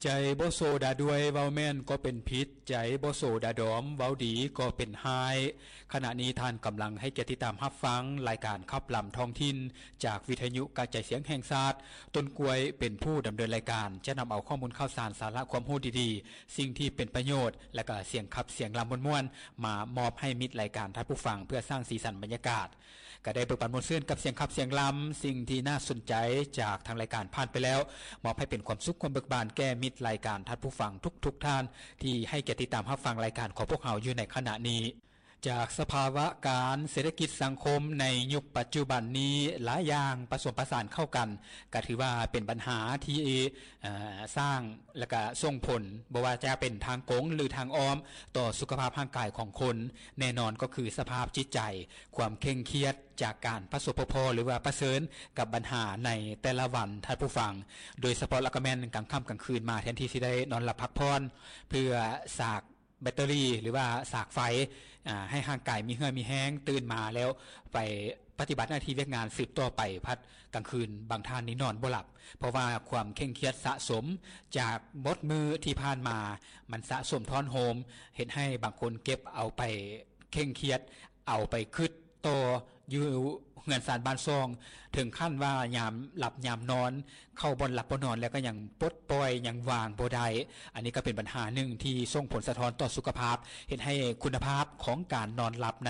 ໃຈບໍ່ໂຊດາດ້ວຍ ເວົ້າແມ່ນກໍເປັນຜິດ, ໃຈບໍ່ໂຊດາດອມ ເວົ້າດີກໍເປັນຮ້າຍ. ຂະນະນີ້ທ່ານກຳລັງໃຫ້ກຽດຕິດຕາມຮັບຟັງລາຍການຂັບລຳທ້ອງຖິ່ນ ຈາກວິທະຍຸກະຈາຍສຽງແຫ່ງຊາດ. ຕົ້ນກ້ວຍເປັນຜູ້ດຳເນີນລາຍການ, ຈະນຳເອົາຂໍ້ມູນຂ່າວສານ, ສາລະຄວາມຮູ້ດີໆ, ສິ່ງທີ່ເປັນປະໂຫຍດ ແລະກະສຽງຂັບສຽງລຳມ່ວນໆ ມາມອບໃຫ້ມິດລາຍການທ່ານຜູ້ຟັງ ເພື່ອສ້າງສີສັນບັນຍາກາດ. ກະໄດ້ເບີກບານມ່ວນຊື່ນກັບສຽງຂັບສຽງລຳ, ສິ່ງທີ່ໜ້າສົນໃຈຈາກທາງລາຍການຜ່ານໄປແລ້ວ, ມອບໃຫ້ເປັນຄວາມສຸກຄວາມເບີກບານແກ່ມິດລາຍການທ່ານຜູ້ຟັງທຸກໆທ່ານ ທີ່ໃຫ້ກຽດຕິດຕາມຮັບຟັງລາຍການຂອງພວກເຮົາຢູ່ໃນຂະນະນີ້. ຈາກສະພາວະການເສດຖະກິດສັງຄົມໃນຍຸກປັດຈຸບັນນີ້, ຫຼາຍຢ່າງປະສົມປະສານເຂົ້າກັນ, ກະຖືວ່າເປັນບັນຫາທີ່ ເອີ ສ້າງ ແລະກະສົ່ງຜົນ ບໍ່ວ່າຈະເປັນທາງກົງ ຫຼື ທາງອ້ອມ ຕໍ່ສຸຂະພາບຮ່າງກາຍຂອງຄົນ. ແນ່ນອນກໍຄືສະພາບຈິດໃຈ, ຄວາມເຄັ່ງຄຽດຈາກການປະສົບປະພໍ ຫຼືວ່າປະເຊີນກັບບັນຫາໃນແຕ່ລະວັນ, ທ່ານຜູ້ຟັງ. ໂດຍສະເພາະລະກະແມ່ນກາງຄ່ຳກາງຄືນມາ ແທນທີ່ຊິໄດ້ນອນຫຼັບພັກຜ່ອນ ເພື່ອສາກແບັດເຕີຣີ ຫຼືວ່າສາກໄຟ, ອາ, ໃຫ້ຮ່າງກາຍມີເຫື່ອມີແຮງ, ຕື່ນມາແລ້ວໄປປະຕິບັດໜ້າທີ່ວຽກງານສືບຕໍ່ໄປ, ພັດກາງຄືນບາງທ່ານນີ້ນອນບໍ່ຫຼັບ, ເພາະວ່າຄວາມເຄັ່ງຄຽດສະສົມຈາກໝົດມື້ທີ່ຜ່ານມາ, ມັນສະສົມທ້ອນໂຮມ, ເຮັດໃຫ້ບາງຄົນເກັບເອົາໄປເຄັ່ງຄຽດ, ເອົາໄປຄິດຕໍ່ຢູ່ເຮືອນຊານບ້ານຊ່ອງ, ເຖິງຂັ້ນວ່າຍາມຫຼັບຍາມນອນ, ເຂົ້າບ່ອນຫຼັບບ່ອນນອນແລ້ວກໍຍັງປົດປ່ອຍ, ຍັງວາງບໍ່ໄດ້. ອັນນີ້ກໍເປັນບັນຫາໜຶ່ງທີ່ສົ່ງຜົນສະທ້ອນຕໍ່ສຸຂະພາບ, ເຮັດໃຫ້ຄຸນນະພາບຂອງການນອນຫຼັບນັ້ນ